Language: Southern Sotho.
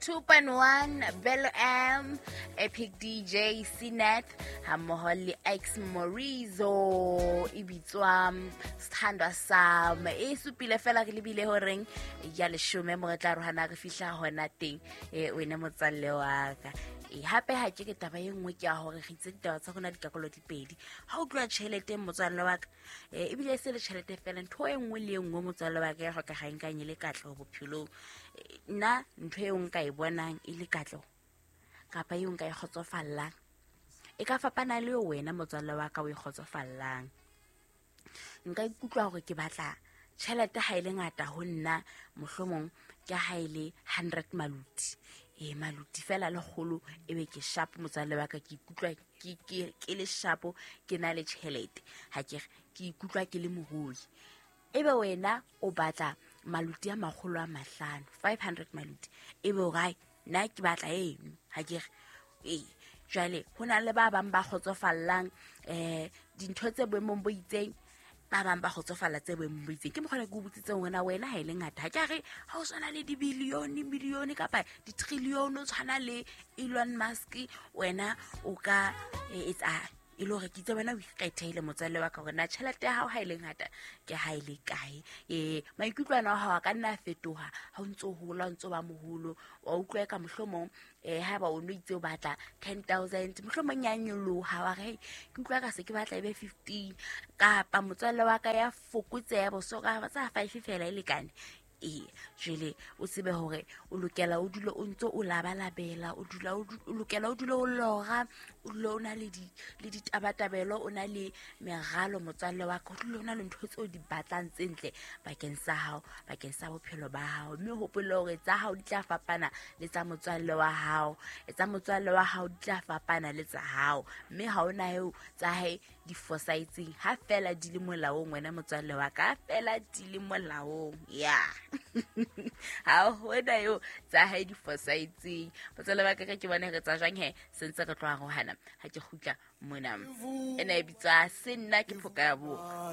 102.1 Bello M, Epic DJ Cnet hammoho le X Morizo, e bitswa Sethandwa Sam. E supile fela re lebile horeng ya leshome mo re tla rohana re fihla hona teng. E wena motswalle wa ka. E hape ha ke ke taba e nngwe ke ya hore re itse ditaba tsa rona dikakolo di pedi. Ha o tloha tjheleteng motswalle wa ka, ebile e se le tjhelete fela, ntho e nngwe le e nngwe motswalle wa ka ya hlokagang kang e le katleho bophelong. Nna ntho eo nka e bonang e le katleho kapa eo nka e kgotsofallang e ka fapana le wena motswalle wa ka o e kgotsofallang. Nka ikutlwa hore ke batla tjhelete ha e le ngata ho nna, mohlomong ke ha e le 100 maluti. Maluti fela lekgolo e be ke sharp motswalle wa ka, ke ikutlwa ke le sharp, ke na le tjhelete. Ha ke re ke ikutlwa ke le morui. Ebe wena o batla maluti a makgolo a mahlano, 500 maluti. Ebe o re, nna ke batla eno. Ha ke re, jwale ho na le ba bang ba kgotsofallang dintho tse boemong bo itseng, ba bang ba kgotsofalla tse boemong bo itseng. Ke mokgwa ke o botsitseng hore na wena ha e le ngata. Ha ke a re ha o tshwana le dibilione, milione kapa ditrilione, o tshwana le Elon Musk, wena o ka etsa e le hore ke itse wena o ikgethehile motswalle wa ka hore na tjhelete ya hao ha e le ngata ke ha e le kae. Maikutlo ana a hao a ka nna a fetoha ha o ntso hola, o ntso ba moholo, wa utlwa ka mohlomong haeba o no itse o batla 10,000, mohlomong ya nyoloha, wa re, hey, ke utlwa ka se ke batla e be 15, kapa motswalle wa ka ya fokotseha boso ka tsa 5 fela e lekane. Jwale o tsebe hore o lokela o dule o ntso o labalabela, o dula o o lokela o dule o lora, o dule o na le di, le ditabatabelo, o na le meralo motswalle wa ka, o dule o na le ntho tseo di batlang tse ntle bakeng sa hao, bakeng sa bophelo ba hao. Mme o hopole hore tsa hao di tla fapana le tsa motswalle wa hao, tsa motswalle wa hao di tla fapana le tsa hao, mme ha ona eo tsa hae di fosahetseng ha fela di le molaong. Wena motswalle wa ka, ha fela di le molaong, ya ha hona eo tsa hae di fosahetseng. Motswalle wa ka, ke bone re tsa jwang he, se ntse re tlo arohana ha ke kgutla mona. Ena e bitswa Se nna ke phoka ya boko.